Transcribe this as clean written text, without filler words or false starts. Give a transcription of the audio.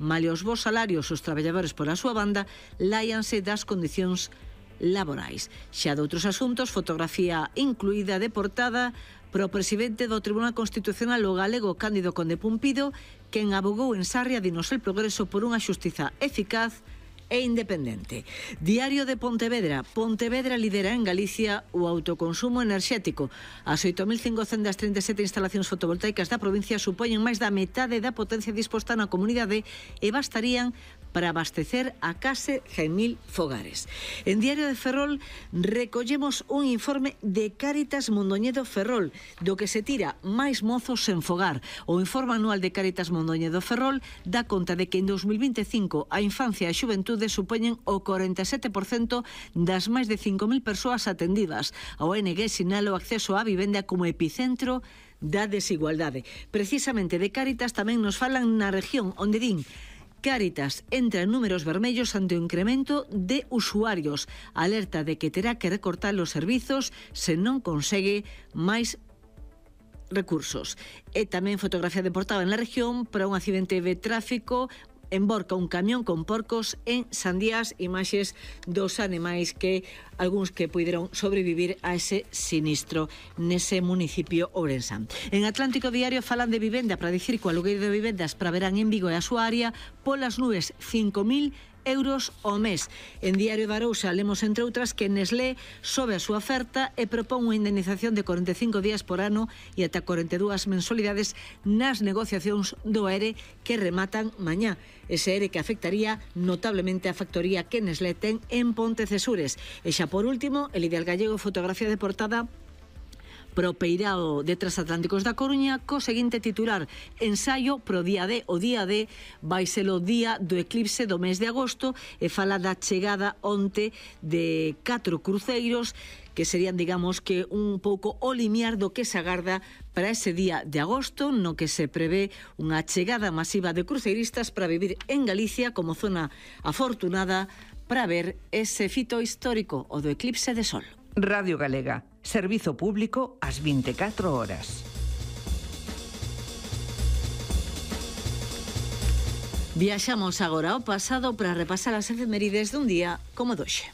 Malia os bos salarios, os traballadores pola súa banda láianse das condicións laborais. Xa de outros asuntos, fotografía incluída de portada pro presidente do Tribunal Constitucional, o galego Cándido Conde Pumpido, quen abogou en Sarria dinos El Progreso por unha xustiza eficaz e independente. Diario de Pontevedra. Pontevedra lidera en Galicia o autoconsumo enerxético. As 8.537 instalacións fotovoltaicas da provincia supoñen máis da metade da potencia disposta na comunidade e bastarían para abastecer a case 100.000 fogares. En Diario de Ferrol recollemos un informe de Cáritas Mondoñedo Ferrol, do que se tira máis mozos sen fogar. O informe anual de Cáritas Mondoñedo Ferrol dá conta de que en 2025 a infancia e a xuventude supoñen o 47% das máis de 5.000 persoas atendidas. A ONG sinala o acceso á vivenda como epicentro da desigualdade. Precisamente de Cáritas tamén nos falan na región, onde din: Cáritas entra en números vermellos ante o incremento de usuarios. Alerta de que terá que recortar os servizos se non consegue máis recursos. E tamén fotografía de portada en la región para un accidente de tráfico. Emborca un camión con porcos en Sandías, imaxes dos animais que algúns que puideron sobrevivir a ese sinistro nese municipio ourensán. En Atlántico Diario falan de vivenda para dicir que o alugueiro de vivendas para verán en Vigo e a súa área polas nubes, 5.000 euros ao mes. En Diario de Arousa lemos, entre outras, que Nestlé sobe a súa oferta e propón unha indemnización de 45 días por ano e ata 42 mensualidades nas negociacións do ERE que rematan mañá. Ese ERE que afectaría notablemente a factoría que Nestlé ten en Pontecesures. E xa por último, el Ideal Gallego, fotografía de portada pro peirao de Transatlánticos da Coruña co seguinte titular: ensaio pro día D. O día D vai ser o día do eclipse do mes de agosto e fala da chegada onte de 4 cruceiros que serían, digamos, que un pouco o limiar do que se agarda para ese día de agosto, no que se prevé unha chegada masiva de cruceiristas para vivir en Galicia como zona afortunada para ver ese fito histórico, o do eclipse de sol. Radio Galega, servizo público ás 24 horas. Viaxamos agora ao pasado para repasar as efemérides dun día como doxe.